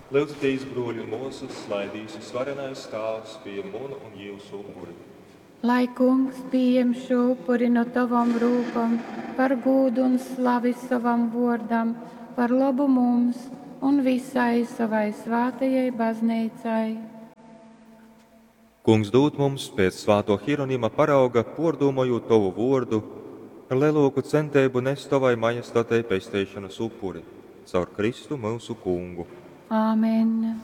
Lyudzitīs, bruoļi un muosys, lai Dīvs Vysvarenais Tāvs pījem munu un jiusu upuri. Lai Kungs pījem šū upuri nu tovom rūkom par gūdu un slavi sovam vōrdam, par lobu mums un vysai sovai svātajai Bazneicai. Kungs dūd mums, pēc svātō Hironima parauga pōrdūmojūt tovu vōrdu, ar lelōku centeibu nest tovai majestatei pesteišonas upuri. Caur Kristu myusu Kungu. Āmen.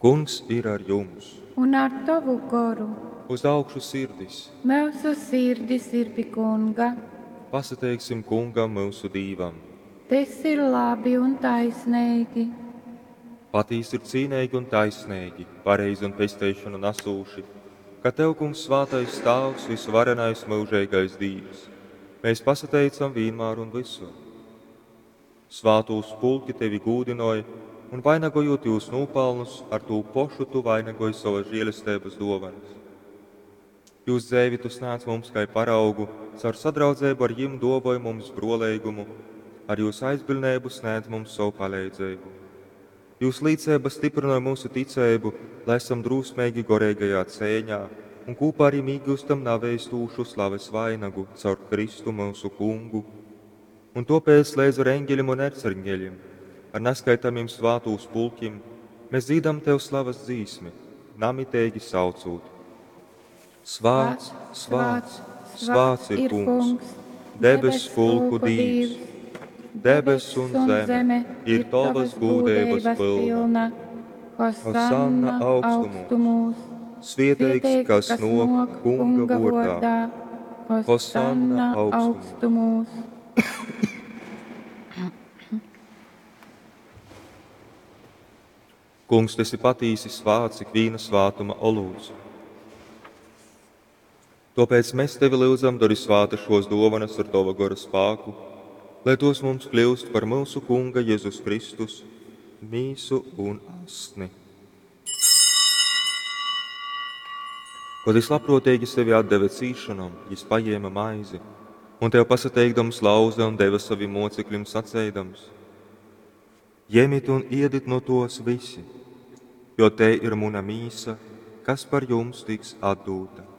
Kungs ir ar jums. Un ar tovu goru. Uz augšu sirdis. Myusu sirdis ir pi Kunga. Pasateiksim Kungam, myusu Dīvam. Tys ir labi un taisneigi. Patīsi ir cīneigi un taisneigi, pareizi un pesteišonu nasūši, ka tev, Kungs, svātais Tāvs, vysuvarenais myužeigais Dīvs, mēs pasateicam vīnmār un vysur. Svātūs pulki tevi gūdynoj, un vainagojūt jūs nūpalnus, ar tū pošu tu vainagoj sovas žēlesteibas dōvanas. Jūs dzeivi tu snādz mums kai paraugu, caur sadraudzeibu ar jim dōvoj mums brōleigumu, ar jūs aizbiļneibu snēdz mums sovu paleidzeibu. Jūs līceiba styprynoj myusu ticeibu, lai esam drūsmeigi goreigajā ceiņā un kūpā ar jim īgyustam naveistūšu slaves vainagu caur Kristu myusu Kungu. Un tōpēc leidz ar eņgeļim un erceņgeļim, ar naskaitamim svātūs pulkim, mēs dzīdam tev slavas dzīsmi, namiteigi saucūt: Svāts, svāts, svāts ir Kungs, debess pulku Dīvs. Debess un zeme ir tovas gūdeibas pylna. Hosanna augstumūs. Svieteigs, kas nōk Kunga vōrdā. Hosanna augstumūs. Kungs, tu esi patīsi svāts ikvīna svātuma olūts. Tōpēc mēs tevi lyudzam, dori svāta šos dōvanas ar tova gora spāku, lai tos mums kļūst par myusu Kunga Jezus Kristus mīsu un asni. Kod jys labprōteigi sevi atdeve cīsšonom, jys pajēma maizi un tev pasateikdams lauze un deve savim mocekļim saceidams: Jemit un iedit nu tos visi, jo tei ir muna mīsa, kas par jums tiks atdūta.